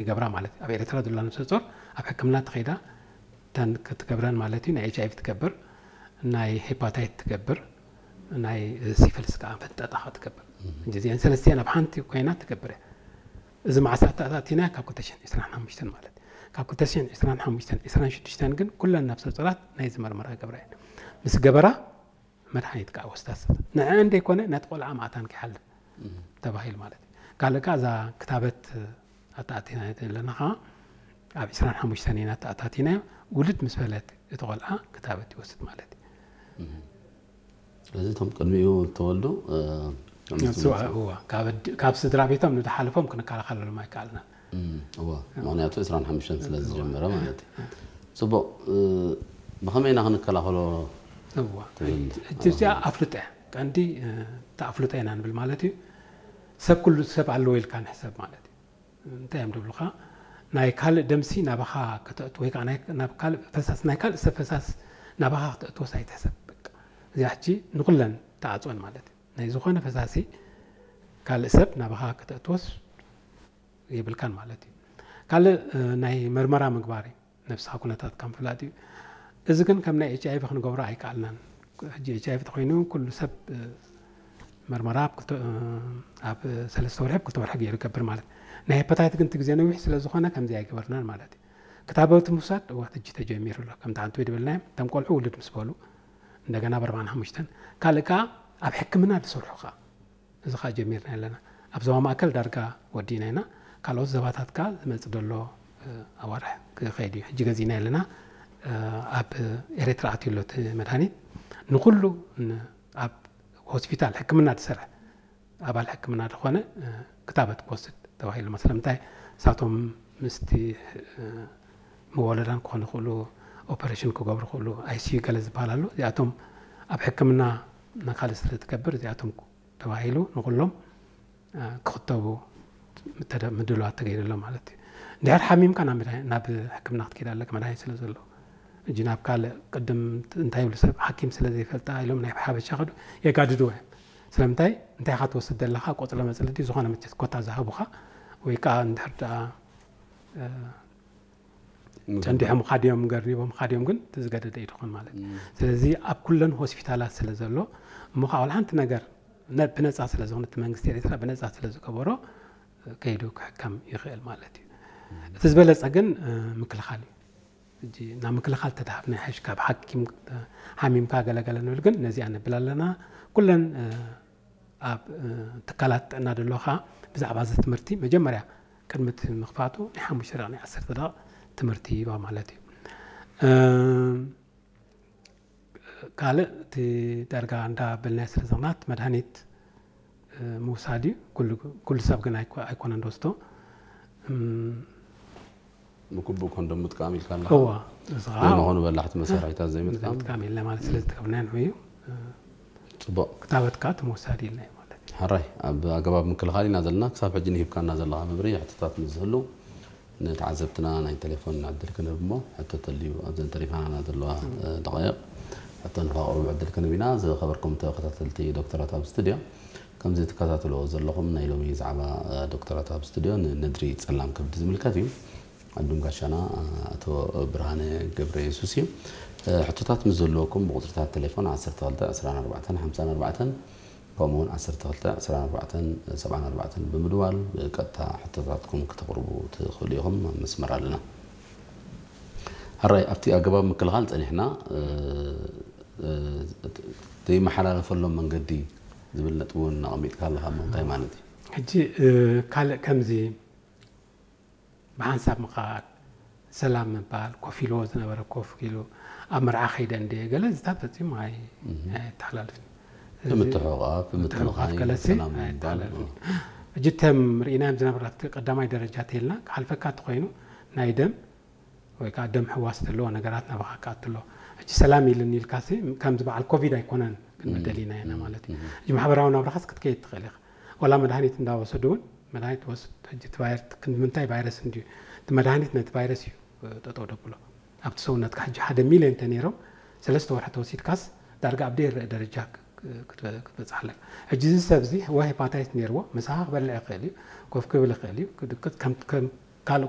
ይገብራ ማለት እዩ። ኣብ ኤርትራ ዘሎ ነፍሰ ጾር ኣብ ሕክምና ተኸይዳ ተን ክትገብረን ማለት እዩ። ናይ ኤች ኣይቪ ትገብር፣ ናይ ሄፓታይት ትገብር፣ ናይ ሲፍልስ ከዓ ፈንጠጣ ከዓ ትገብር። እዚአን ሰለስቲአን ኣብ ሓንቲ ኮይና ትገብር እያ። እዚ መዓስ ኣተኣታቲና ካብ ክልተ ሽሕን ዕስራን ሓሙሽተን ማለት እዩ። ካብ ክልተ ሽሕን ዕስራን ሓሙሽተን ዕስራን ሽዱሽተን ግን ኩለን ነፍሰ ጾራት ናይ ዝመርመራ ገብራ እየን። ምስ ገበራ መድሓኒት ከዓ ወስዳ ንዐ እንደይኮነ ነቲ ቆልዓ ማእታን ከይሓልፍ ተባሂሉ ማለት እዩ። ካልእ ከዓ እዛ ክታበት ኣተኣቲና ዘለና ከዓ ኣብ ዕስራን ሓሙሽተን ኢና ኣተኣታቲናዮ። ውልድ ምስ በለት እቲ ቆልዓ ክታበት ይወስድ ማለት እዩ። ስለዚ እቶም ቅድሚኡ ዝተወልዱ እዋ ካብ ስድራ ቤቶም ንዝሓለፎም ክንከላኸለሎም ኣይከኣልናን። እዋ ምክንያቱ ዕስራን ሓሙሽተን ስለ ዝጀመረ ማለት እዩ። ፅቡቅ። ብኸመይ ኢና ክንከላኸሎ? እዋ ሕጂ እዚኣ ኣፍልጦ እያ። ቀንዲ እታ ኣፍልጦ ኢና ንብል ማለት እዩ። ሰብ ኩሉ ሰብ ኣለዎ ኢልካ ንሕሰብ ማለት እዩ። እንታይ እዮም ዝብሉኻ? ናይ ካልእ ደምሲ ናባኻ ከተእቱ ወይ ከዓ ናይ- ናብ ካልእ ፈሳስ ናይ ካልእ ሰብ ፈሳስ ናባኻ ከተእትወስ ኣይትሕሰብ። በቃ እዚኣ ሕጂ ንኩለን ተዓፅወን ማለት እዩ። ናይ ዝኾነ ፈሳሲ ካልእ ሰብ ናባኻ ከተእትወስ የብልካን ማለት እዩ። ካልእ ናይ መርመራ ምግባር እዩ። ነብስኻ ኩነታትካ ምፍላጥ እዩ። እዚ ግን ከም ናይ ኤች ኣይቪ ክንገብሮ ኣይከኣልናን። ሕጂ ኤች ኣይቪ ተኮይኑ ኩሉ ሰብ መርመራ ኣብ ሰለስተ ወርሒ ክልተ ወርሒ ገይሩ ይገብር ማለት። ናይ ሄፓታይት ግን እቲ ግዜ ነዊሕ ስለዝኾነ ከምዚ ኣይገበርናን ማለት እዩ። ክታበት ምውሳድ እዋ ሕጂ ተጀሚሩ ኣሎ። ከምቲ ሓንቲ ወይ ድበልናዮም እቶም ቆልዑ ውልድ ምስ በሉ እንደገና ብ ኣርባዓን ሓሙሽተን ካልእ ከዓ ኣብ ሕክምና ዝሰርሑ ከዓ እዚ ከዓ ጀሚርና ኣለና። ኣብ ዞባ ማእከል ዳርጋ ወዲእና ኢና። ካልኦት ዘባታት ከዓ ዝመፅእ ዘሎ ኣዋርሕ ክኸይድ እዩ። ሕጂ ገዚእና ኣለና። ኣብ ኤርትራ ኣትዩ ኣሎ እቲ መድሃኒት። ንኩሉ ኣብ ሆስፒታል ሕክምና ዝሰርሕ ኣባል ሕክምና ዝኾነ ክታበት ክወስድ ተባሂሉ። ስለምንታይ እሳቶም ምስቲ መወለዳን ክኾኑ ይኽእሉ፣ ኦፐሬሽን ክገብሩ ይኽእሉ፣ ኣይሲዩ ገለ ዝበሃል ኣሎ። እዚኣቶም ኣብ ሕክምና ንካልእ ስለ ትገብር እዚኣቶም ተባሂሉ ንኩሎም ክኽተቡ ምድላዋት ተገይሩ ኣሎ ማለት እዩ። እንድሕር ሓሚምካ ናብ ሕክምና ክትከይድ ኣለካ መድሃኒት ስለ ዘሎ። እጂ ናብ ካልእ ቅድም እንታይ ይብሉ ሰብ ሓኪም ስለ ዘይፈልጣ ኢሎም ናይ ሓበሻ ከዱ የጋድድዎ እዮም። ስለምንታይ እንታይ ኢኻ ትወስድ ዘለኻ ቆፅለ መፅሊ ድዩ ዝኾነ መቸት ኮታ ዝሃቡኻ ወይ ከዓ እንድሕር ደኣ ጸንዲሖም ካድዮም ገርኒቦም ካድዮም ግን ዝገደደ እዩ ድኾን ማለት እዩ። ስለዚ ኣብ ኩለን ሆስፒታላት ስለ ዘሎ እሞ ከዓ ሓንቲ ነገር ብነፃ ስለ ዝኾነ እቲ መንግስቲ ኤርትራ ብነፃ ስለ ዝገበሮ ከይዱ ክሕከም ይኽእል ማለት እዩ። እቲ ዝበለፀ ግን ምክልኻል እዩ። ሕጂ ናብ ምክልኻል ተተሃብና ይሓይሽ ካብ ሓኪም ሓሚምካ ገለገለ ንብል ግን ነዚኣ ነብል ኣለና። ኩለን ኣብ ትካላት ጥዕና ደለኻ ብዛዕባ እዚ ትምህርቲ መጀመርያ ቅድሚ እቲ ምኽፋቱ ናይ ሓሙሽተ ደቂ ናይ ዓሰርተ ደቂ ትምህርቲ ይባ ማለት እዩ። ካልእ እቲ ዳርጋ እንዳ በልናዮ ስለ ዘኽናት መድሃኒት ምውሳድ እዩ። ኩሉ ሰብ ግን ኣይኮነን ደወስዶ ምኩቡ ኮንዶም ምጥቃም ኢልካ ኣለኻ። እዋ፣ እዚ ኸዓ ዘይመኾኑ በላሕቲ መሳርሒታት ዘይምጥቃም። ዘይምጥቃም ኢልና ማለት ስለ ዝተገብና ንዑ እዩ። ጽቡቕ። ክታበት ከዓ እቲ ምውሳድ ኢልና እዩ ማለት እዩ። ሕራይ፣ ኣብ ኣገባብ ምክልኻል ኢና ዘለና። ክሳብ ሕጂ ንሂብካና ዘለኻ መብርሂ፣ ሕቶታት ምስ ዝህሉ ንተዓዘብትና ናይ ቴሌፎን ዕድል ክንህብ እሞ፣ ሕቶ ተልዩ ኣብዘን ተሪፋና ዘለዋ ደቃይቕ ሕቶ ንኸቕርቡ ዕድል ክንህብ ኢና። ዝኸበርኩም ተኸታተልቲ ዶክተራት ኣብ ስቱድዮ፣ ከምዚ ትከታተልዎ ዘለኹም ናይ ሎሚ ዛዕባ ዶክተራት ኣብ ስቱድዮ ንነድሪ ጸላም ከብዲ ዝምልከት እዩ። ዕዱም ጋሻና ኣቶ ብርሃነ ገብረ የሱስ እዩ። ሕቶታት ምስ ዘለወኩም ብቁፅርታት ቴሌፎን ዓሰርተ ክልተ ዕስራን ኣርባዕተን ሓምሳን ኣርባዕተን ከምኡውን ዓሰርተ ክልተ ዕስራን ኣርባዕተን ሰብዓን ኣርባዕተን ብምድዋል ብቀጥታ ሕቶታትኩም ክተቕርቡ ትኽእሉ ኢኹም። ኣብ መስመር ኣለና። ሕራይ ኣብቲ ኣገባብ ምክልኻል ጸኒሕና ዘይመሓላለፈሎም መንገዲ ዝብል ነጥቢ እውን ኣቐሚጥካ ኣለኻ እሞ እንታይ ማለት እዩ? ሕጂ ካልእ ከምዚ ብሓንሳብ ምኻድ፣ ሰላም ምባል፣ ኮፍ ኢልዎ ዝነበረ ኮፍ ኢሉ ኣብ መርዓ ከይደ እንደ ገለ እዚታት ፈጺሙ ኣይተሓላልፍን። ብምትሕቑቓፍ፣ ብምትንኻይ፣ ገለሲ ሰላም ምባል። ኣይተሓላልፍን። ሕጂ እተም ርኢናዮም ዝነበረ ኣብቲ ቀዳማይ ደረጃ ተይልና ክሓልፈካ እንተኾይኑ ናይ ደም ወይ ከዓ ደም ሕዋስ ዘለዎ ነገራት ናባኻ ክኣቱ ኣለዎ። ሕጂ ሰላም ኢልኒ ኢልካሲ ከምዚ በዓል ኮቪድ ኣይኮነን ክንብል ደሊና ኢና ማለት እዩ። ሕጂ ማሕበራዊ ናብራኻስ ክትከይድ ትኽእል ኢኻ። ዋላ መድሃኒት እንዳወሰዱ እውን መድሃኒት ወስድ ሕጂ እቲ ቫይረስ ክንዲ ምንታይ ቫይረስ እንድዩ እቲ መድሃኒት ነቲ ቫይረስ እዩ ጠጠው ደብሎ። ኣብቲ ሰውነትካ ሕጂ ሓደ ሚልዮን ተነይሮም ሰለስተ ወርሒ ተወሲድካስ ዳርጋ ኣብ ደይረአ ደረጃ ክትበፅሕ ኣለካ። ሕጂ እዚ ሰብ እዚ ወይ ሄፓታይት ነይርዎ ምሳኻ ክበልዕ ይኽእል እዩ፣ ኮፍ ክብል ይኽእል እዩ፣ ክድቅት ከም ካልእ እኮ